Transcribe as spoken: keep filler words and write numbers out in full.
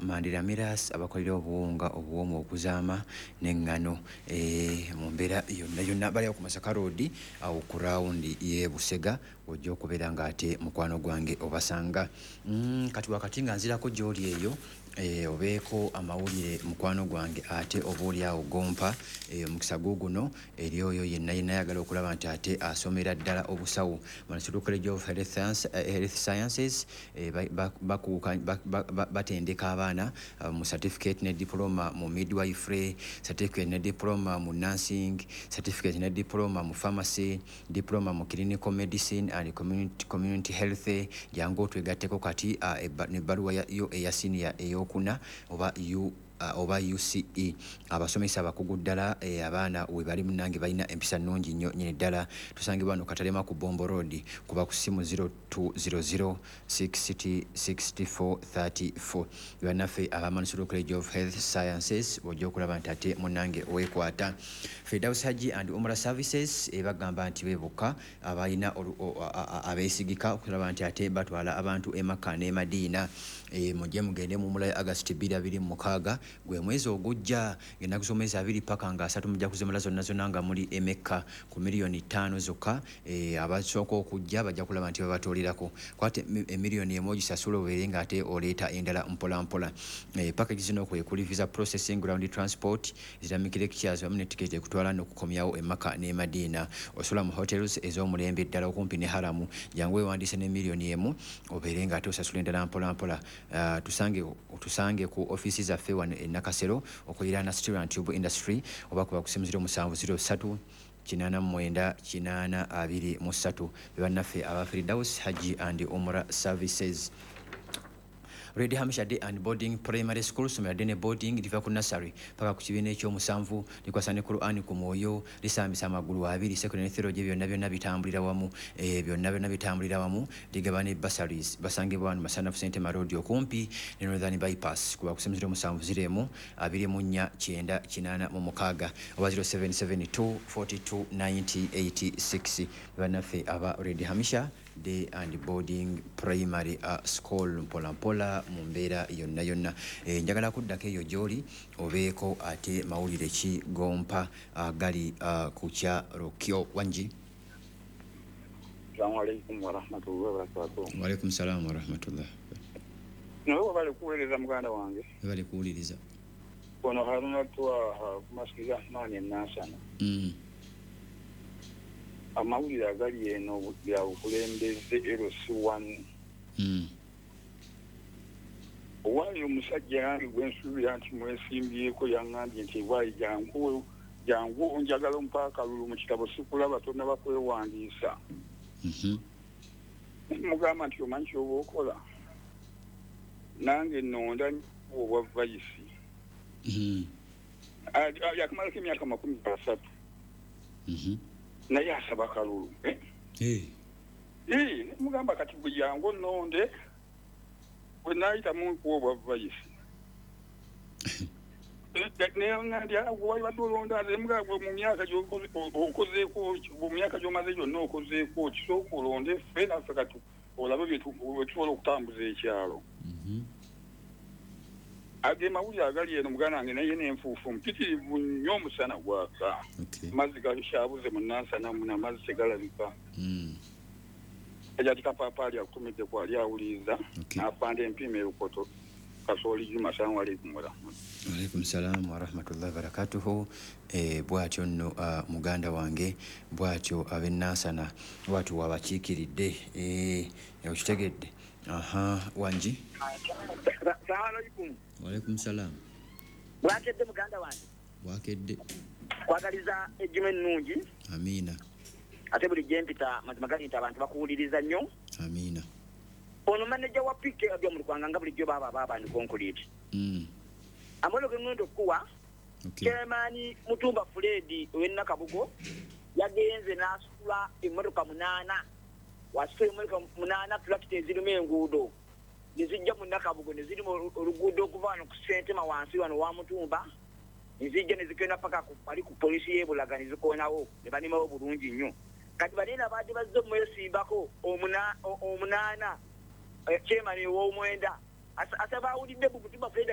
Mandira Miras abakolera obuwunga obuwoomu okuzaama n'eŋŋano eh, mu mbeera yonna yonna. Bali awo ku Masaka Road, awo ku rawundi y'e Busega, ojja okubeera ng'ate mukwano gwange obasanga. mm, kati wakati nga nzirako gy'oli eyo, eh, obeeko amawulire mukwano gwange, ate oba oli awo gompa eh, omukisa guguno eri oyo yenna yenna ayagala okulaba nti ate asomera ddala obusawo. Manasuru College of Health Science, eh, Health Sciences eh, bakuuka batendeka abaana uh, mu certificate ne diploma mu midwifery, certificate ne diploma mu nursing, certificate ne diploma mu pharmacy, diploma mu clinical medicine and community, community health. Jangu otwegatteko kati uh, nebbaluwa yo eya senior eyokuna oba U Uh, oba U C E. Abasomesa abakugu ddala, eh, abaana we bali munange balina empisa nnungi nnyo nyini ddala. Tusangibwa wano Katalema ku Bombo Road, kuba ku simu zero two zero zero sixty sixty-four thirty-four. Bannaffe aba Manasuru College of Health Sciences, ojja okulaba nti ate munange weekwata. Firdaus Hajji and Umrah Services ebagamba nti bebokka abalina abeesigika okulaba nti ate batwala abantu e Makka ne Madiina. e, mujje mugende mu Umrah August twenty twenty-six, gwe mwezi ogujja, ng'ennaku z'omwezi abiri paka nga asatu, mujja kuzimala zonna zonna nga muli emekka ku miliyoni ttaano zokka. e, abasooka okujja bajja kulaba nti babatoolirako. Kwate emiliyoni emu ogisasula, obeere ng'ate oleeta endala mpola mpola. e, package zino kwe kuli visa processing, ground transport, Islamic lectures wamu ne tiketi ekutwala n'okukomyawo e Makka ne Madiina. Osula mu hotels ez'omulembe ddala okumpi ne haramu. Jangu weewandiise ne miliyoni emu, obeere ng'ate osasula endala mpola mpola. uh, tusange tusange ku ofiisi zaffe wano e Nakasero okuliraana Steel and Tube Industry, oba kuba ku simu zero seven zero three eight nine eight two three. Bebannaffe aba Firdaus Hajji and Umrah Services. Red Hampshire Day and Boarding Primary School, somero ddene boarding, liva ku nursery paka ku kibiina ekyomusanvu, likwasa ne Quran ku mwoyo, lisambisa amagulu abiri, secondary theology, byonna byonna bitambulira wamu, eh, byonna byonna bitambulira wamu. Ligaba ne bursaries. Basangibwa wano Masanafu Sentema Road okumpi ne Northern Bypass. Kuba ku simu zero seven zero two four nine zero eight six oba zero seven seven two forty-two ninety eighty-six. Bannaffe aba Red Hampshire Day and Boarding Primary uh, School, mpola mpola mu mbeera yonna yonna. e, njagala kuddako eyo gy'oli, obeeko ate mawulire ki gompa uh, gali uh, ku kyalo kyo. Wangi? Assalamu alaikum warahmatullahi wabarakatuh. Waalaikum salaamu warahmatullah. Nawe wabale kuweereza, muganda wange. Webale kuwuliriza. Ono Haruna Twaha ku Masiki Rahmani enansana. mm. Amawulire agali eno bya bukulembeze L C one. Mm. Owaayo omusajja yange gwe nsuubira nti mwesimbyeko yaŋŋambye nti waayi, jangu jangu, njagala ompa akalulu mu kitabo, sikulaba, tonnaba kwewandiisa. Mm -hmm. Mugamba nti omanyi kyoba okola, nange nonda obwa vice. Mm. Yakamalako emyaka makumi asatu, Mm -hmm. naye asaba kalulu, eh? Hey. Eh, mugamba kati bwe jangu nonde, bwe naayitamu nkuwa obwa vice. Wabadde olonda gwe mu myaka okozeeko, mu myaka gy'omaze gyonna okozeeko, kisooka olonde ffe naffe kati olabe bye tusobola okutambuza ekyalo. Mm -hmm. Age mawulire agali eno, muganda wange, naye n'enfuufu mpitirivu nnyo, omusana gwaka, Okay. amazzi gakyabuze mu Nansana muno, amazzi tegalabika. Mm. Ejati Kapaapaali akutumidde kwali awuliriza. Okay. N'afanda empiima erukoto Kasooli Juma. Salamu alaikum warahmatullahi. Alaikum salamu warahmatullahi wabarakatuhu. e, bwatyo nno uh, muganda wange, bwatyo ab'enansana bwatyo wabakiikiridde. e, okitegedde? Aha, wangi? Salamu alaikum. Walaikum salamu. Bwakedde, muganda wange. Bwakedde. Kwagaliza ejjuma ennungi. Amiina. Ate buli gyempita, mazima gali nti abantu bakuwuliriza nnyo. Amiina. Ono maneja wa P K Byomulukwanga, nga bulijjo baaba baabandi concrete. mm. Amawulire ge ŋŋenda okukuwa, okay. Chairman Mutumba Fred ow'e Nakabugo yagenze n'asitula emmotoka munaana, wasitula emmotoka munaana, tulakita ezirimu enguudo, ne zijja mu Nakabugo ne zirimu oluguudo okuva wano ku Sentema wansi wano wa Mutumba, ne zijja ne zigenda paka wali ku polisi y'e Bulaga ne zikoonawo ne banimawo bulungi nnyo. Kati banene abadde bazze omwesimbako omunaana, chairman ow'omwenda asaba awulidde bu Mutumba Fred.